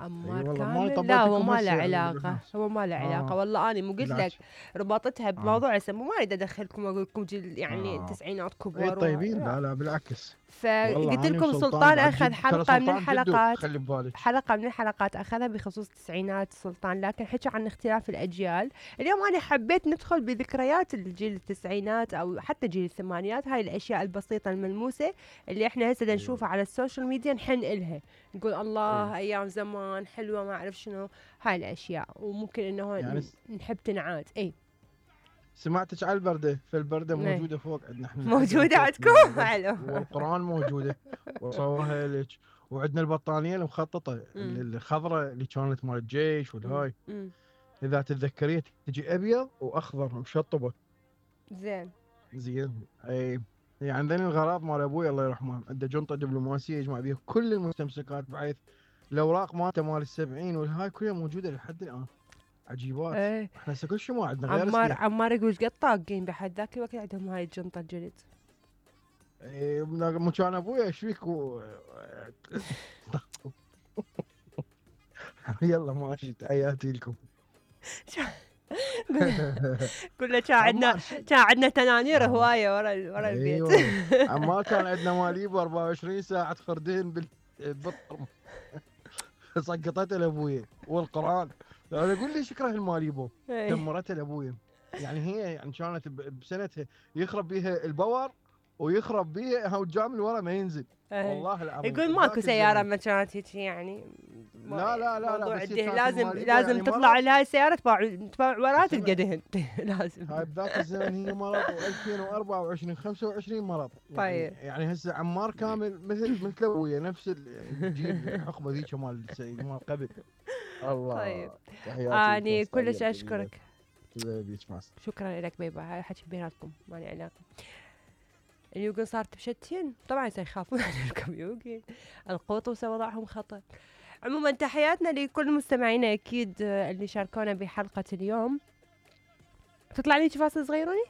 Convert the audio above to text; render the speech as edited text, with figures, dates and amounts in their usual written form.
عمار والله كامل لا، طبيتكم هو ما له هسه يعني علاقة، هو ما له علاقة والله. أنا مو قلت لك بالعكس. ربطتها بموضوع هسه، ما اريد ادخلكم واقول لكم جيل يعني اه التسعينات اي كبار طيبين، لا. لا بالعكس. فقلت والله اني لكم وسلطان سلطان بعد اخذ جد، ترى حلقة من سلطان جدو الحلقات، خلي ببالك. حلقة من الحلقات أخذها بخصوص التسعينات سلطان، لكن حكى عن اختلاف الأجيال. اليوم أنا حبيت ندخل بذكريات الجيل التسعينات أو حتى جيل الثمانينات، هاي الأشياء البسيطة الملموسة اللي إحنا هسه نشوفها على السوشيال ميديا نحن إلها، نقول الله أيام زمان حلوة ما أعرف شنو هاي الأشياء، وممكن إنه يعني نحب تنعاد. إي سمعتك على البردة، فالبردة إيه. موجودة فوق عندنا احنا موجودة فوق عندكم حلو. والقرآن موجودة وصورها لك. وعندنا البطانية المخططة الخضراء اللي كانت مال الجيش والهاي، إذا تتذكريها تجي أبيض وأخضر مشطبة. زين. زين أي. يعني عندنا الغراض مال أبوي الله يرحمه، عنده جنطة دبلوماسية يجمع بيها كل المستمسكات، بحيث الأوراق مالته مال السبعين والهاي كلها موجودة لحد الآن. عجيبات. ايه. احنا هسه كل شيء ما عندنا غير اسلحة. عمار يقول قد طاقين بحد ذاك الوقت عندهم هاي الجنطة الجلد. مو كان ابويا ايش فيك يلا ماشي، تحياتي لكم. كله كان عندنا تنانير هواية ورا البيت. عمار كان عندنا ماليبو 24 ساعة خردين بالطرم. سقطته لابويا والقرآن. انا اقول لي شكره الماليبو دمرته لابويا. يعني هي يعني كانت بسنتها يخرب بيها الباور ويخرب بيها هو الجام اللي ورا ما ينزل. والله العظيم يقول ماكو سيارة ما كانت هيك يعني. لا موضوع بس الدهن لازم لازم تطلع لهاي السيارة تباع وراه تلقى دهن. لازم. هاي بذاك الزمن هي مرض، و2024 25 مرض. طيب. يعني هسه عمار كامل مثل ابويا، نفس الجيل الحقبه ذيك مال قبل. الله. طيب. تحياتي لكم. اني كلش اشكرك. شكرا لك بيبا، هاي حكي بيناتكم ما لي علاقة. اليوغن صارت بشتين طبعا سيخافون على اليوغن، القوطوسة وضعهم خطر. عموما تحياتنا لكل مستمعينا اكيد اللي شاركونا بحلقة اليوم. تطلع لي فاصل صغيروني.